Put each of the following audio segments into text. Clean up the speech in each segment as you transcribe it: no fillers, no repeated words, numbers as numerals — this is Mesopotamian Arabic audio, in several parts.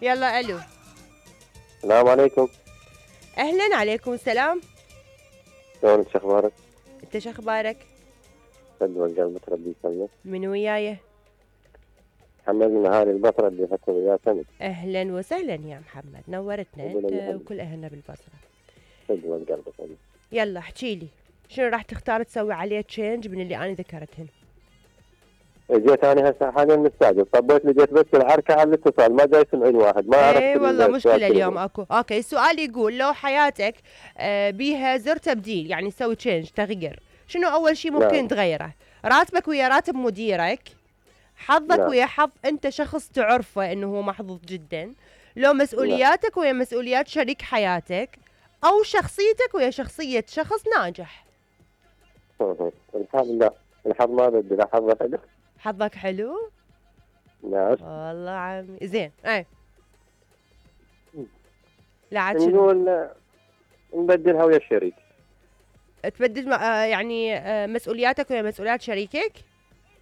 يلا الو. السلام عليكم. اهلا، عليكم السلام. شلونك شو اخبارك؟ انت شو اخبارك؟ قد قلبك ربي يسلمك. من وياي؟ محمد من اهالي البصره اللي فتره وياه سنه. اهلا وسهلا يا محمد، نورتنا انت وكل اهلنا بالبصره. قد قلبك ربي. يلا احكي لي شنو راح تختار تسوي عليه تشينج من اللي انا ذكرتهن؟ جيت انا هسه حاليا مستعجل، طبيت لقيت بس الحركه على الاتصال ما جاي يسمعين واحد، ما عرفت. اي والله مشكله اليوم اكو. اوكي، السؤال يقول لو حياتك بيها زر تبديل، يعني تسوي تشينج تغيير، شنو اول شيء ممكن نعم. تغيره؟ راتبك ويا راتب مديرك، حظك نعم. ويا حظ انت شخص تعرفه انه هو محظوظ جدا، لو نعم. مسؤولياتك ويا مسؤوليات شريك حياتك، او شخصيتك ويا شخصيه شخص ناجح. الحظ لا، الحظ ما بدي، لا حظ حلو. حظك حلو؟ نعم. والله عمي زين. اي لا عاد شنو؟ نقول نبدلها ويا الشريك. تبدل يعني مسؤولياتك ويا مسؤوليات شريكك؟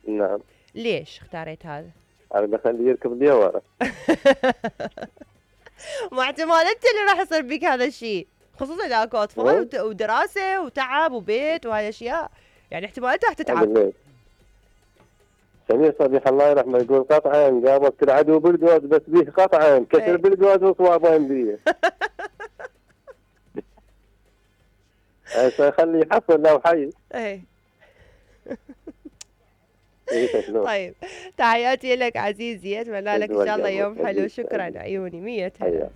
نعم. ليش اختاريت هذا؟ انا بخليه يركض لي ورا. ما احتمال انت اللي راح يصير بك هذا الشيء، خصوصا اذا اكو اطفال ودراسه وتعب وبيت وهاي الاشياء، يعني احتمال انت راح تتعب. سمير صبيح الله يرحمه يقول قطعا قابلت العدو بالجوز بس بيه قطعا كسر بالجوز وصوابين بيه. هسه خليه يحصل لو حي. ايه. طيب تحياتي لك عزيزي، اتمنى لك ان شاء الله يوم حلو. شكرا عيوني 100 هلا.